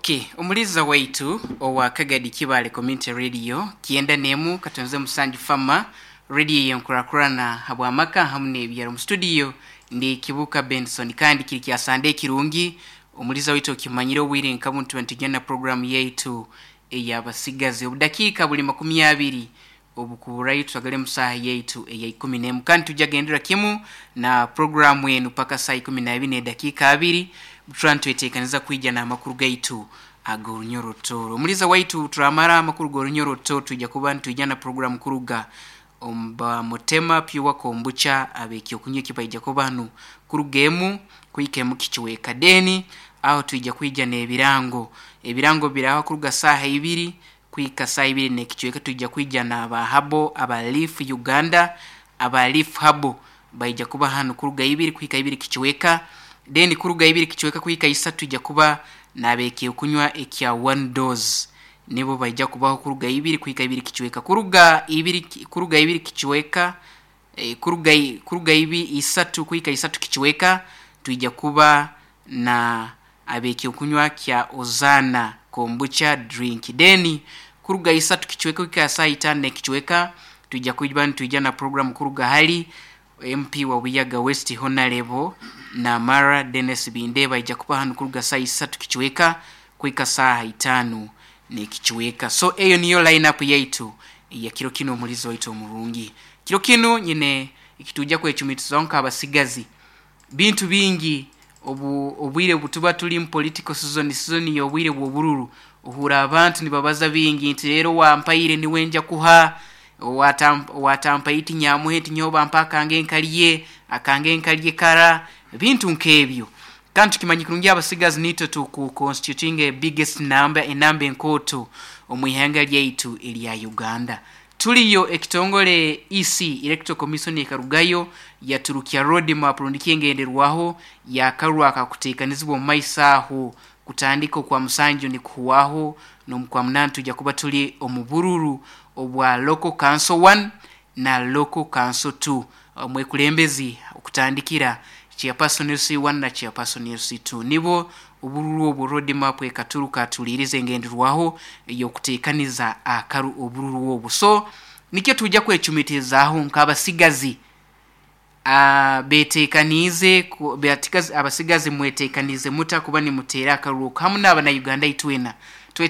Okay, omuliza waitu owa Kagadi Kibale Community Radio 91.7 Fama radio yenkurakurana habwamaka hamu n'ebyaro. Mu studio ndi Kibuka Benson, kandi kiri kya Sande kirungi. Omuliza waitu, okimanyire obwire nka buntu ntugenda na programu yaitu ey'abasigazi. Obudakiika buli 20 obukuburayo twagale mu saaha yaitu eya 11, kandi tujja gendera kimu na programu enu paka saa 12 n'edakiika 2, tuba nitweteekaniza kwija n'amakuru gaitu ag'orunyoro. Omuliza waitu, turamara amakuru g'orunyoro, tujja kuba nitwija na programu kuruga omuba Mutema Pure Kombucha, ab'ekyokunywa ekibaija kuba hanu kuruga 1 kuhika 1 kichweka. Then aho twija kwija n'ebirango. Ebirango biraho kuruga saaha 2 kuhika saa 2 n'ekicweka. Twija kwija n'aba habo aba Leaf Uganda, aba Leaf Habo baija kuba hanu kuruga 2 kuhika 2 kicweka. Then kuruga 2 kicweka kuhika 3 twija kuba n'ab'ekyokunywa ekya One Dose, nibo baija kubaho kuruga 2 kuhika 2 kicweka. Kuruga 2, kuruga 2 kicweka, kuruga 3 kuhika 3 kicweka twija kuba na ab'ekyokunywa kya Ozana Kombucha drink. Then kuruga 3 kicweka kuhika saa 5 n'ekicweka twija kuba nitwija na program kuruga hali MP wa Buyaga West, Honorable Namara Dennis Bindeba, aija kuba hanu kuruga saa 3 kicweka kuhika saaha 5 n'ekicweka. So eyo niyo line up yaitu ya kiro kino. Omulizi waitu omurungi, kiro kinu nyine ekitujja kwecumitizaho nk'abasigazi. Bintu bingi obu obwire butuba tuli mu political season, season y'obwire bw'obururu, ohura abantu nibabaza bingi nti rero wampaire niwe nja kuha, watampaire nyamuhe, nti nyowe bampa akange nkalye, akange nkalye kara, bintu nk'ebyo. Kandi tukimanyi kurungi abasigazi nitwe tuku constituting a biggest number, enamba enkooto omu ihanga lyaitu erya Uganda. Tuliyo ekitongole EC, Electoral Commission, ekarugayo yaturukya road map rundi kyengenderwaho yakarwa akakuteekanizibwa omu maiso aho. Kutandika okwa 7 nikuhwaho n'omukwa 8 tujja kuba tuli omu bururu obwa local council 1 na local council 2, omwekulembezi okutandikira chairperson LC1 na chairperson LC2, nibo obururu obwo road map ekaturuka tulirize engenderwaho ey'okuteekaniza akaru obururu obwo. So nikyo tujja kwecumitirizaho nk'abasigazi. Beteekaniize abasigazi mweteekaniize muta kuba nimuteera akaruru hamu n'abana Uganda itwena?